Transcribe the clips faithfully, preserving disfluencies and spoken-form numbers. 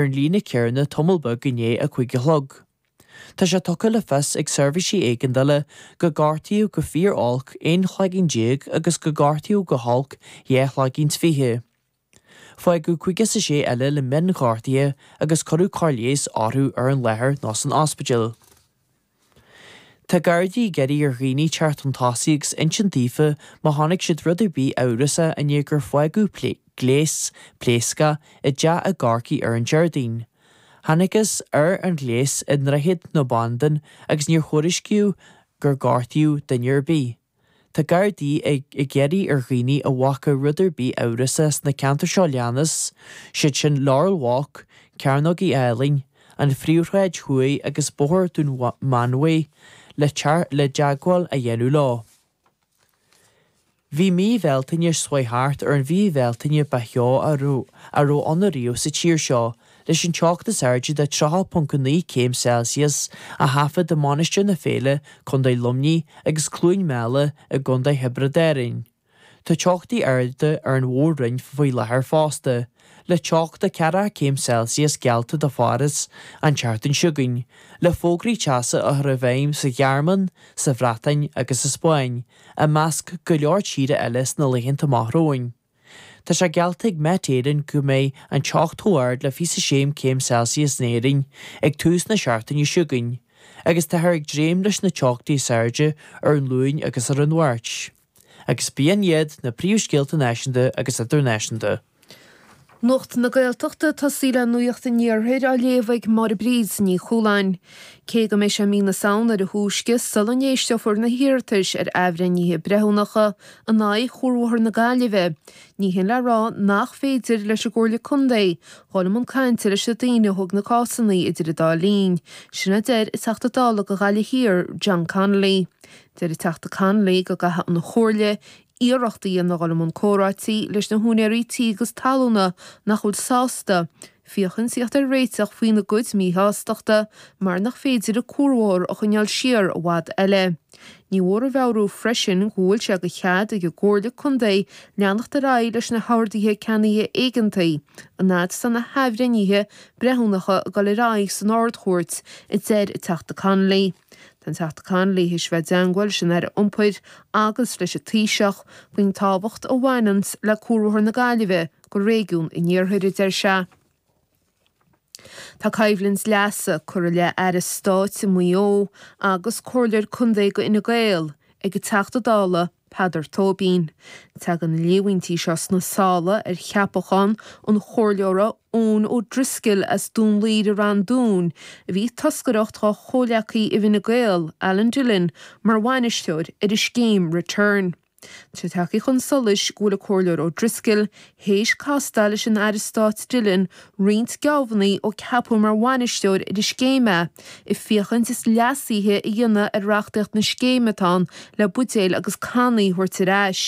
an líne céanna tamall beag i ndiaidh a cúig a chlog. Tá sé tugtha le fios ag seirbhísí éigeandála gur gortaíodh go fíor-olc aon chloigeann déag agus gur gortaíodh go holc dhá chloigeann is fiche. Fágadh caoga is a sé eile le mionghortuithe agus cuireadh cóir leighis orthu ar an láthair nó san ospidéal. Tá Gardaí ag iarraidh ar dhaoine teacht chun tosaigh agus insint daofa má chonaic siad rud ar bith amhrasach i ndiaidh gur fágadh gléas pléascach i dteach i gCorcaigh ar an Déardaoin. Thángthas ar an ghléas i nDroichead na Bandan agus níor thuairiscíodh gur gortaíodh duine ar bith. Tá Gardaí ag iarraidh ar dhaoine a bhfaca rud ar bith amhrasach sna ceantair seo leanas, siad sin Laurel Walk, Cearnóg Uí Álainn, an Phríomhshráid Thuaidh agus Bóthar Dún Mánmhaí le le teagmháil a dhéanamh leo. Bhí mí Bhealtaine seo chuaigh thart ar an mhí Bhealtaine ba theo a raibh ann riamh sa tír seo, leis an teocht is airde de tríocha ponc naoi céim Celsius a thaifead i Mainistir na Féile, Contae Luimnigh agus Cluain Meala i gContae Thiobraid Árann. Tá teochtaí arda ar an mhór-roinn faoi láthair fosta, le teocht de ceathracha céim Celsius geallta do Pháras an tseachtain seo chugainn, le fógraí teasa á chur i bhfeidhm sa Ghearmáin, sa Bhreatain agus sa Spáinn, i measc go leor tíortha eile sna laethanta amach romhainn. Tá sé geallta ag Met Éireann go mbeidh an teocht chomh ard le fiche sé céim Celsius in Éirinn ag tús na seachtaine seo chugainn, agus táthar ag dréim leis na teochtaí is airde ar an Luan agus ar an Mháirt. Agus b'in iad na príomhscéalta náisiúnta agus idirnáisiúnta. Nuacht na Gaeltachta tosaí le Nuacht an Iarthair á léamh ag Máire Bríd Ní Chualáin. Cé go mbeidh sé mí na Samhna ar a thúisce sula n-éisteofar na hiarratais ar athbhreithnithe breithiúnacha in aghaidh Chuarbhóthar na Gaillimhe, ní hin le rá nach féidir leis an gComhairle Contae dhul i mbun cainte leis na daoine a thóg na cásanna idir an dá linn. Sin a deir an Teachta Dála do Ghaillimh Thiar, John Connolly. Deir an Teachta Connolly go gcaithfidh an Chomhairle iarracht a dhéanamh dhul i mbun comhráití leis na húinéirí tí agus talúna nach bhfuil sásta féachaint theacht ar réiteach faoina gcuid míshástachta mar nach féidir an cuarbhóthar a choinneáil siar i bhfad eile. Ní mór a mheabhrú freisin go bhfuil sé de chead ag an gComhairle Contae leanacht ar aghaidh leis na horduithe ceannaithe éigeantaí an fhad is atá na hathbhreithnithe breithiúnacha ag dul ar aghaidh san Ard-Chúirt, a deir an Teachta Connolly. Tá an Teachta Connolly théis bheith i dteagmháil leis an Aire Iompair agus leis an Taoiseach faoin tábhacht a bhaineanns le Cuarbhóthar na Gaillimhe go réigiún an Iarthair, a deir sé. Tá coimhlint leasa curtha i leith Aire Stáit i Maigh Eo agus Comhairleoir Contae go Fhine Gael ag an Teachta Dála Peadar Tóibín. Tagann na líomhaintí seo sna sála ar cheapachán an chomhairleora Eoin O'Driscoll as Dún Laoghaire Rann Dúin, a bhí ag toscaireacht dá chomhghleacaí i bhFine Gael, Alan Dillon, mar bhainisteoir ar an scéim Return. Tá sé tagtha chun solais go bhfuil an Comhairleoir O'Driscoll théis castáil leis an Aire Stáit Dillon roinnt geábhanna ó ceapadh mar bhainisteoir ar an scéim é, ag féachaint is leasuithe a dhéanamh ar reachtaíocht na scéime atá ann le buidéil agus cannaí a thabhairt ar ais.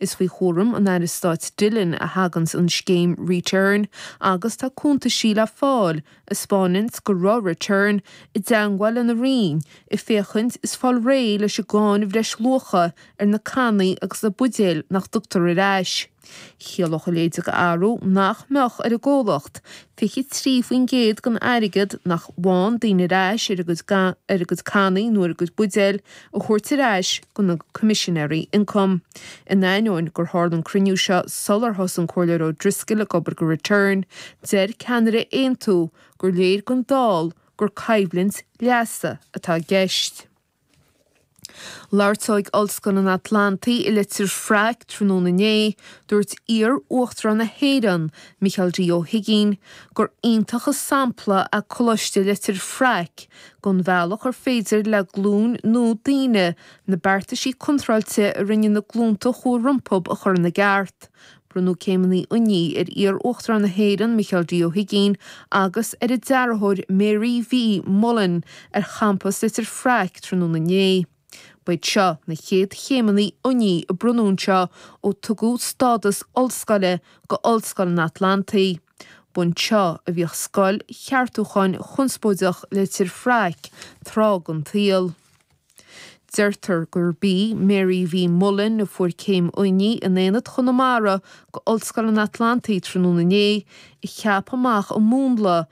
Is faoi chúram an Aire Stáit Dillon a thaganns an scéim Return agus tá cuntaisí le fáil a 'spáineanns go raibh Return i dteagmháil lena roinn ag féachaint is fáil réidh leis an gcáin bhreisluacha ar na cannaí agus na buidéil nach dtugtar ar ais. Chiallódh a leithéid d'athrú nach mbeadh ar an gcomhlacht fiche trí faoin gcéad den airgead nach bhfaigheann daoine ar ais ar a gcuid ar a gcuid cannaí nó ar a gcuid buidéil a thabhairt ar ais go na Coimisinéirí Ioncaim. In ainneoin gur tharla an cruinniú seo sular thosaigh an Comhairleoir O'Driscoll ag obair go Return, deir ceannaire Aontú gur léir don dall gur coimhlint leasa atá i gceist. Labhairt ag Ollscoil an Atlantaigh i Leitir Fraic tráthnóna inné, dúirt iar-uachtarán na hÉireann, Micheál D. Ó hUigínn, gur iontach an sampla é Coláiste Leitir Fraic den bhealach ar féidir le glúin nua daoine na beartaisí contráilte a rinne na glúnta a chuaigh rompu a chur ina gceart. Bronnadh céimeanna oinigh ar iar-uachtarán na hÉireann, Micheál D. Ó hUigínn, agus ar a deartháir Mary V. Mullen ar champas Leitir Fraic tráthnóna inné. Ba iad seo na chéad chéimeanna oinigh a bronnadh anseo ó tugadh stádas ollscoile go Ollscoil an Atlantaigh. B'anseo a bhíodh scoil cheartúcháin chonspóideach Leitir Fraic tráth den tsaol. Deirtear gurb í Mary V. Mullen a fuair céim oinigh in Aonad Chonamara go Ollscoil an Atlantaigh tráthnóna inné a cheap amach an múnla